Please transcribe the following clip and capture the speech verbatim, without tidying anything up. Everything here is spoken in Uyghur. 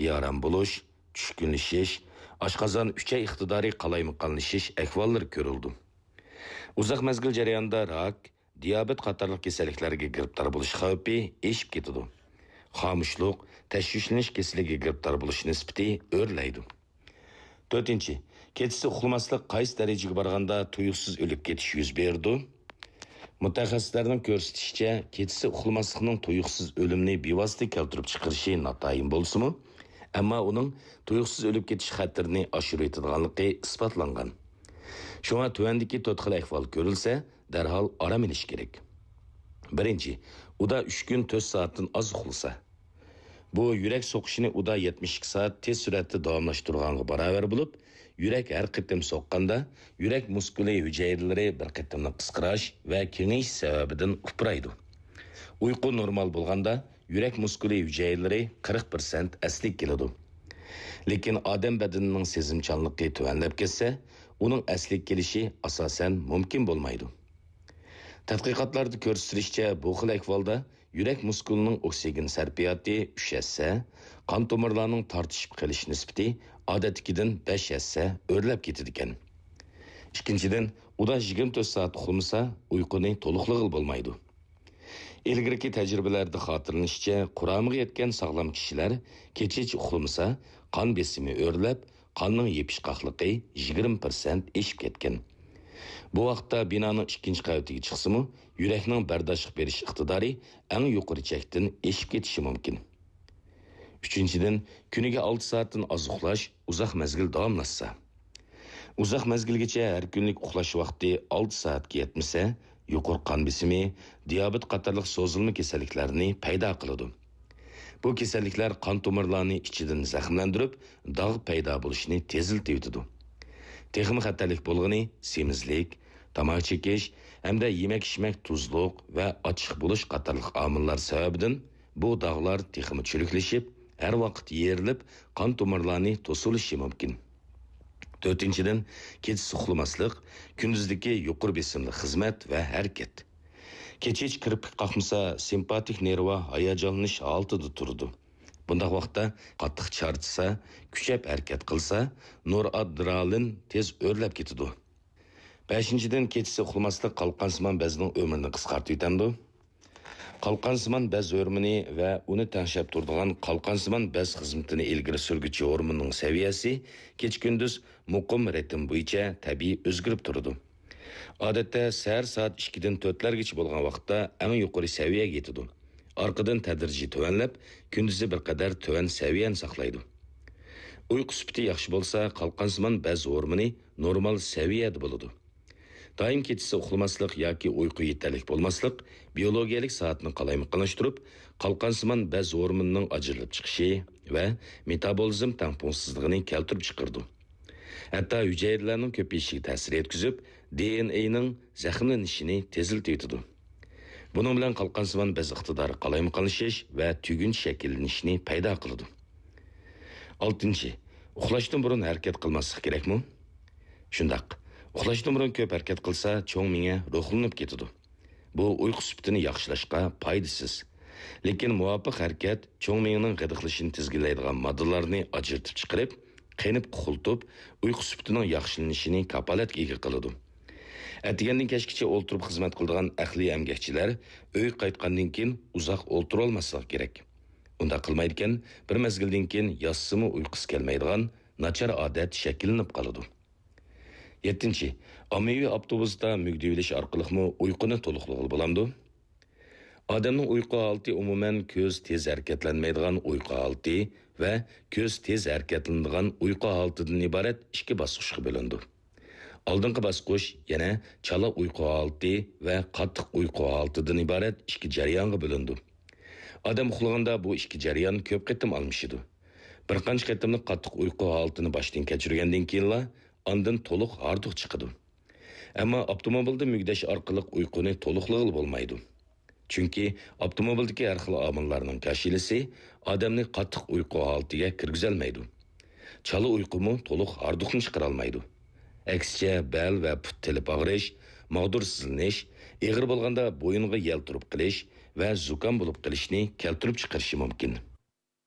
بىئارام بولۇش، چۈشكۈنلىشىش، ئاشقازان ئۈچەي ئىقتىدارى قالايمىقانلىشىش ئەھۋاللىرى كۆرۈلىدۇ. ئۇزاق مەزگىل جەريانىدا راك، دىيابېت قاتارلىق كېسەللىكلەرگە گىرىپتار بولۇش خەۋپى ئېشىپ كېتىدۇ. خامۇشلۇق، تەشۋىشلىنىش كېسىلىگە گىرىپتار بولۇش نىسبىتى ئۆرلەيدۇ. تۆتىنچى، كېچىسى ئۇخلىماسلىق قايسى دەرىجىگە بارغاندا تۇيۇقسىز ئۆلۈپ كېتىش يۈز بېرىدۇ؟ مۇتەخەسسىسلەرنىڭ كۆرسىتىشىچە، كېچىسى ئۇخلىماسلىقنىڭ تۇيۇقسىز ئۆلۈمنى بىۋاسىتە كەلتۈرۈپ چىقىرىشى ناتايىن بولسىمۇ، ئەمما ئۇنىڭ تۇيۇقسىز ئۆلۈپ كېتىش خەتىرىنى ئاشۇرۇۋېتىدىغانلىقى ئىسپاتلانغان. شۇڭا تۆۋەندىكى تۆت خىل ئەھۋال كۆرۈلسە، دەرھال ئارام ئېلىش كېرەك. بىرىنچى، ئۇدا ئۈچ كۈن تۆت سائەتتىن ئاز ئۇخلىسا. بۇ يۈرەك سوقۇشىنى ئۇدا يەتمىش ئىككى سائەت تېز سۈرئەتتە داۋاملاشتۇرغانغا باراۋەر بولۇپ، يۈرەك ھەر قېتىم سوققاندا، يۈرەك مۇسكۇلى ھۈجەيرىلىرى بىر قېتىملىق قىسقىراش ۋە كېڭىيىش سەۋەبىدىن ئۇپرايدۇ. ئۇيقۇ نورمال بولغاندا، يۈرەك مۇسكۇلى ھۈجەيرىلىرى قىرىق پىرسەنت ئەسلىگە كېلىدۇ. لېكىن ئادەم بەدىنىنىڭ سېزىمچانلىقى تۆۋەنلەپ كەتسە، ئۇنىڭ ئەسلىگە كېلىشى ئاساسەن مۇمكىن بولمايدۇ. تەتقىقاتلاردا كۆرسىتىلىشىچە، بۇ خىل ئەھۋالدا يۈرەك مۇسكۇلىنىڭ ئوكسىگېن سەرپىياتى ئۈچ ھەسسە، قان تومۇرلارنىڭ تارتىشىپ قېلىش نىسبىتى ئادەتتىكىدىن بەش ھەسسە ئۆرلەپ كېتىدىكەن. ئىككىنچىدىن، ئۇدا يىگىرمە تۆت سائەت ئۇخلىمىسا، ئۇيقۇنى تولۇقلىغىلى بولمايدۇ. ئىلگىرىكى تەجرىبىلەردە خاتىرىلىنىشىچە، قۇرامىغا يەتكەن ساغلام كىشىلەر كېچىچە ئۇخلىمىسا، قان بېسىمى ئۆرلەپ، قاننىڭ يېپىشقاقلىقى يىگىرمە پىرسەنت ئېشىپ كەتكەن. بۇ ۋاقىتتا بىنانىڭ ئىككىنچى قەۋىتىگە چىقسىمۇ، يۈرەكنىڭ بەرداشلىق بېرىش ئىقتىدارى ئەڭ يۇقىرى چەكتىن ئېشىپ كېتىشى مۇمكىن. ئۈچىنچىدىن، كۈنىگە ئالتە سائەتتىن ئاز ئۇخلاش ئۇزاق مەزگىل داۋاملاشسا. ئۇزاق مەزگىلگىچە ھەر كۈنلۈك ئۇخلاش ۋاقتى ئالتە سائەتكە يەتمىسە، يۇقىرى قان بېسىمى، دىيابېت قاتارلىق سوزۇلما كېسەللىكلەرنى پەيدا قىلىدۇ. بۇ كېسەللىكلەر قان تومۇرلارنى ئىچىدىن زەخىملەندۈرۈپ، داغ پەيدا بولۇشىنى تېزلىتىۋېتىدۇ. تېخىمۇ خەتەرلىك بولغىنى سېمىزلىك، تاماكا چېكىش ھەمدە يېمەك-ئىچمەك تۇزلۇق ۋە ئاچچىق بولۇش قاتارلىق ئامىللار سەۋەبىدىن بۇ داغلار تېخىمۇ چۈرۈكلىشىپ، ھەر ۋاقىت يېرىلىپ، قان تومۇرلارنى توسۇۋېلىشى مۇمكىن. تۆتىنچىدىن، كېچىسى ئۇخلىماسلىق، كۈندۈزدىكى يۇقىرى بېسىملىق خىزمەت ۋە ھەرىكەت. كېچىچە كىرپىك قاقمىسا، سىمپاتىك نېرۋا ھاياجانلىنىش ھالىتىدە تۇرىدۇ. بۇنداق ۋاقىتتا قاتتىق چارچىسا، كۈچەپ ھەرىكەت قىلسا، نورئادرېنالىن تېز ئۆرلەپ كېتىدۇ. بەشىنچىدىن، كېچىسى ئۇخلىماسلىق قالقانسىمان بەزنىڭ ئۆمرىنى قىسقارتىۋېتەمدۇ؟ قالقانسىمان بەز ھورمونى ۋە ئۇنى تەڭشەپ تۇرىدىغان قالقانسىمان بەز خىزمىتىنى ئىلگىرى سۈرگۈچى ھورموننىڭ سەۋىيەسى كېچە-كۈندۈز مۇقىم رىتىم بويىچە تەبىئىي ئۆزگىرىپ تۇرىدۇ. ئادەتتە سەھەر سائەت ئىككىدىن تۆتلەرگىچە بولغان ۋاقىتتا ئەڭ يۇقىرى سەۋىيەگە يېتىدۇ. ئارقىدىن تەدرىجىي تۆۋەنلەپ، كۈندۈزى بىر قەدەر تۆۋەن سەۋىيەنى ساقلايدۇ. ئۇيقۇ سۈپىتى ياخشى بولسا، قالقانسىمان بەز ھورمونى نورمال سەۋىيەدە بولىدۇ. دائىم كېچىسى ئۇخلىماسلىق ياكى ئۇيقۇ يېتەرلىك بولماسلىق بىيولوگىيەلىك سائەتنى قالايمىقانلاشتۇرۇپ، قالقانسىمان بەز ھورمونىنىڭ ئاجرىلىپ چىقىشى ۋە مېتابولىزم تەڭپۇڭسىزلىقىنى كەلتۈرۈپ چىقىرىدۇ. ھەتتا ھۈجەيرىلەرنىڭ كۆپىيىشىگە تەسىر يەتكۈزۈپ، دې ئېن ئېنىڭ زەخىملىنىشىنى تېزلىتىۋېتىدۇ. بۇنىڭ بىلەن قالقانسىمان بەز ئىقتىدارى قالايمىقانلىشىش ۋە تۈگۈن شەكىللىنىشنى پەيدا قىلىدۇ. ئالتىنچى، ئۇخلاشتىن بۇرۇن ھەرىكەت قىلماسلىق كېرەكمۇ؟ شۇنداق. ئۇخلاشتىن بۇرۇن كۆپ ھەرىكەت قىلسا، چوڭ مېڭە روھلىنىپ كېتىدۇ. بۇ ئۇيقۇ سۈپىتىنى ياخشىلاشقا پايدىسىز. لېكىن مۇۋاپىق ھەرىكەت چوڭ مېڭىنىڭ غىدىقلىشىشىنى تىزگىنلەيدىغان ماددىلارنى ئاجرىتىپ چىقىرىپ، قېنىپ قۇخۇلتۇپ، ئۇيقۇ سۈپىتىنىڭ ياخشىلىنىشىنى كاپالەتكە ئىگە قىلىدۇ. ئەتىگەندىن كەچكىچە ئولتۇرۇپ خىزمەت قىلىدىغان ئەقلىي ئەمگەكچىلەر ئۆيگە قايتقاندىن كېيىن ئۇزاق ئولتۇرالماسلىقى كېرەك. ئۇنداق قىلمايدىكەن، بىر مەزگىلدىن كېيىن ياتسىمۇ ئۇيقۇسى كەلمەيدىغان ناچار ئادەت شەكىللىنىپ قالىدۇ. يەتتىنچى، ئاممىۋى ئاپتوبۇستا مۈگدىۋېلىش ئارقىلىقمۇ ئۇيقۇنى تولۇقلىغىلى بولامدۇ؟ ئادەمنىڭ ئۇيقۇ ھالىتى ئومۇمەن كۆز تېز ھەرىكەتلەنمەيدىغان ئۇيقۇ ھالىتى ۋە كۆز تېز ھەرىكەتلىنىدىغان ئۇيقۇ ھالىتىدىن ئىبارەت ئىككى باسقۇچقا بۆلۈنىدۇ. ئالدىنقى باسقۇچ يەنە چالا ئۇيقۇ ھالىتى ۋە قاتتىق ئۇيقۇ ھالىتىدىن ئىبارەت ئىككى جەريانغا بۆلۈنىدۇ. ئادەم ئۇخلىغاندا بۇ ئىككى جەريان كۆپ قېتىم ئالمىشىدۇ. بىر قانچە قېتىملىق قاتتىق ئۇيقۇ ھالىتىنى باشتىن كەچۈرگەندىن كېيىنلا ئاندىن تولۇق ھاردۇق چىقىدۇ. ئەمما ئاپتوموبىلدا مۈگدەش ئارقىلىق ئۇيقۇنى تولۇقلىغىلى بولمايدۇ. چۈنكى ئاپتوموبىلدىكى ھەر خىل ئامىللارنىڭ كاشىلىسى ئادەمنى قاتتىق ئۇيقۇ ھالىتىگە كىرگۈزەلمەيدۇ. چالا ئۇيقۇمۇ تولۇق ھاردۇقنى چىقىرالمايدۇ. ئەكسىچە، بەل ۋە پۇت تېلىپ ئاغرىش، ماغدۇرسىزلىنىش، ئېغىر بولغاندا بويۇنغا يەل تۇرۇپ قېلىش ۋە زۇكام بولۇپ قېلىشنى كەلتۈرۈپ چىقىرىشى مۇمكىن.